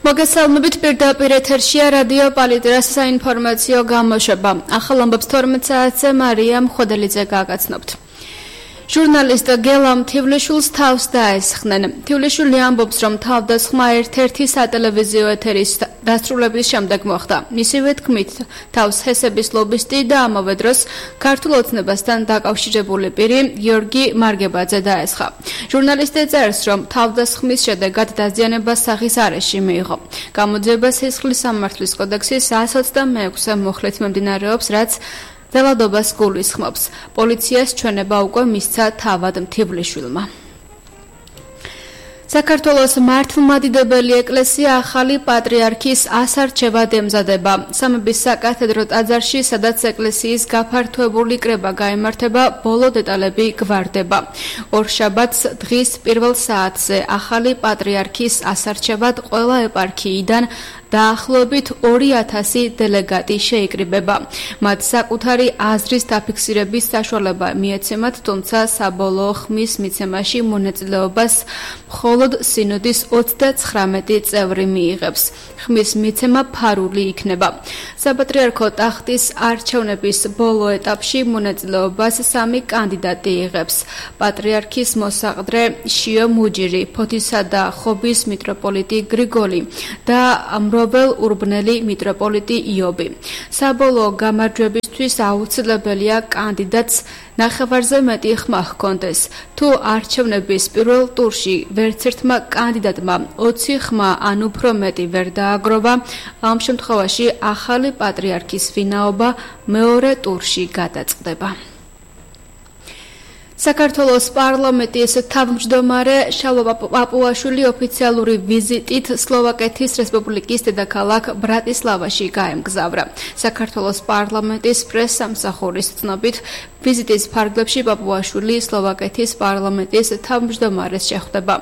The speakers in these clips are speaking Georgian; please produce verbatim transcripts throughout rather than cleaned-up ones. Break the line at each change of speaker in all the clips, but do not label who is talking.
მოგესალმებით პირდაპირ ეთერშია რადიო პალიტრას საინფორმაციო გამოშვება. ახალ ამბებს თორმეტ საათზე მარიამ ხოდელიძე გააგაცნობთ. ჟურნალისტ გელამ თივლიშვილს თავს დაესხნენ. თივლიშვილი ამბობს, რომ თავდასხმა ერთ-ერთი სატელევიზიო ეთერის დასრულების შემდეგ მოხდა. მისივე თქმით, თავს ჰესების ლობისტი და ამავე დროს ქართულ ოცნებასთან დაკავშირებული პირი გიორგი მარგებაძე დაესხა. ჟურნალისტი წერს, რომ თავდასხმის შედეგად დაზიანება სახის არეში მიიღო. გამოძიება სისხლის სამართლის კოდექსის εκατს ოცდამეექვსე მუხლით მიმდინარეობს, რაც დელადობას გულისხმობს. პოლიციას ჩვენება უკვე მისცა თავად თივლიშვილმა. საქართველოს მართლმადიდებელი ეკლესია ახალი პატრიარქის ასარჩევად ემზადება. სამების საკათედრო ტაძარში, სადაც ეკლესიის გაფართოებული კრება გაიმართება, ბოლო დეტალები გვარდება. ორშაბათს დღის პირველ საათზე ახალი პატრიარქის ასარჩევად ყველა ეპარქიიდან დაახლოებით ორი ათასი დელეგატი შეიკრიბება. მათ საკუთარი აზრის დაფიქსირების საშუალება მიეცემათ, თუმცა საბოლოო ხმის მიცემაში მონაწილეობას მხოლოდ სინოდის ოცდაცხრამეტი წევრი მიიღებს. ხმის მიცემა ფარული იქნება. საპატრიარქო ტახტის არჩევნების ბოლო ეტაპში მონაწილეობას სამი კანდიდატი იღებს. პატრიარქის მოსაყდრე შიო მუჯირი, ფოთისა და ხობის მიტროპოლიტი გრიგოლი და ამრობელ ურბნელი მიტროპოლიტი იობი. საბოლოო გამარჯვებისთვის აუცილებელია კანდიდატს ნახევარზე მეტი ხმა ჰქონდეს. თუ არჩევნების პირველ ტურში ვერცერთმა კანდიდატმა ოცი ხმა ან უფრო მეტი ვერ დააგროვა, ამ შემთხვევაში ახალი პატრიარქის ვინაობა მეორე ტურში გადაწყდება. საქართველოს პარლამენტის თავმჯდომარე შალვა პაპუაშვილი ოფიციალური ვიზიტით სლოვაკეთის რესპუბლიკის დედაქალაქ ბრატისლავაში გაემგზავრა. საქართველოს პარლამენტის პრესსამსახურის ცნობით, ვიზიტის ფარგლებში პაპუაშვილი სლოვაკეთის პარლამენტის თავმჯდომარეს შეხვდება,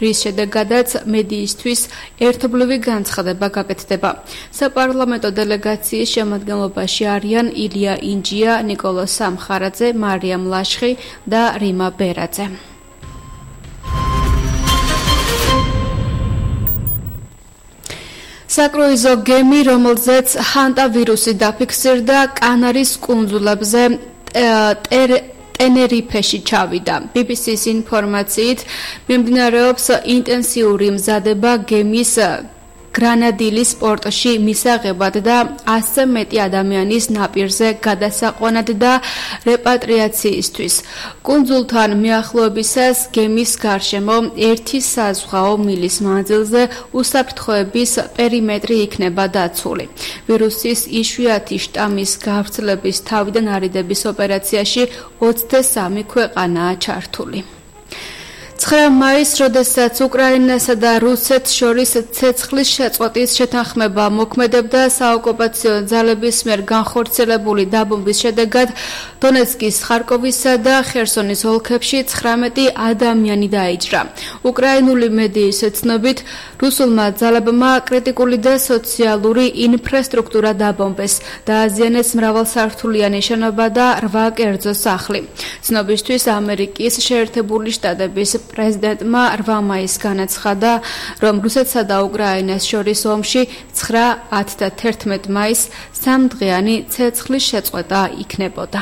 რის შედეგადაც მედიისთვის ერთობლივი განცხადება გაკეთდება. საპარლამენტო დელეგაციის შემადგენლობაში არიან ილია ინჯია, ნიკოლო სამხარაძე, მარიამ ლაშხი და рима ბერაძე. საკრუიზო გემი, რომელზეც ჰანტა ვირუსი დაფიქსირდა, კანარის კუნძულებზე ტენერიფეში ჩავიდა. ბი ბი სის ინფორმაციით, მიმდინარეობს ინტენსიური მზადება გემის გრანადილის პორტში მისაღებად და ასზე მეტი ადამიანის ნაპირზე გადასაყვანად და რეპატრიაციისთვის. კუნძულთან მიახლოებისას გემის გარშემო ერთი საზღვაო მილის მანძილზე უსაფრთხოების პერიმეტრი იქნება დაცული. ვირუსის იშვიათი შტამის გავრცელების თავიდან არიდების ოპერაციაში ოცდასამი ქვეყანაა ჩართული. ცხრა მაისს, როდესაც უკრაინასა და რუსეთს შორის ცეცხლის შეწყვეტის შეთანხმება მოქმედებდა, საოკუპაციო ძალების მიერ განხორციელებული დაბომბვის შედეგად დონეცკის, ხარკოვისა და ხერსონის ოლქებში ცხრამეტი ადამიანი დაიჭრა. უკრაინული მედიის ცნობით, რუსულმა ძალებმა კრიტიკული და სოციალური ინფრასტრუქტურა დაბომბეს, დააზიანეს მრავალსართულიანი შენობა და რვა კერძო სახლი. ცნობისთვის, ამერიკის შეერთებული შტატების პრეზიდენტმა რვა მაისს განაცხადა, რომ რუსეთსა და უკრაინას შორის ომში ცხრა, ათი და თერთმეტი მაისს სამდღიანი ცეცხლის შეწყვეტა იქნებოდა.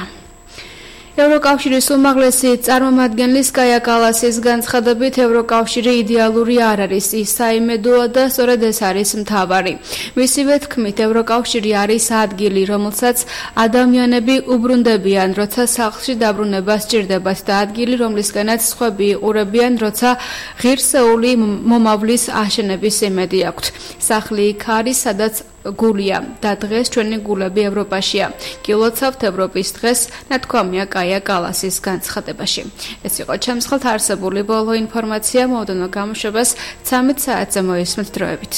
ევროკავშირის უმაღლესი წარმომადგენლის კაია კალასის განცხადებით, ევროკავშირი იდეალური არ არის, ის საიმედოა და სწორედ ეს არის მთავარი. მისივე თქმით, ევროკავშირი არის ადგილი, რომელსაც ადამიანები უბრუნდებიან, როცა სახლში დაბრუნება სჭირდებათ და ადგილი, რომლისკენაც სხვები იყურებიან, როცა ღირსეული მომავლის აშენების იმედი აქვთ. სახლი იქ არის, სადაც გულია და დღეს ჩვენი გულები ევროპაშია. გილოცავთ ევროპის დღეს, ნათქვამია კაია კალასის განცხადებაში. ეს იყო ჩემს ხელთ არსებული ბოლო ინფორმაცია, მოდენო გამოშვებას ცამეტ საათზე მოისმენთ დროებით.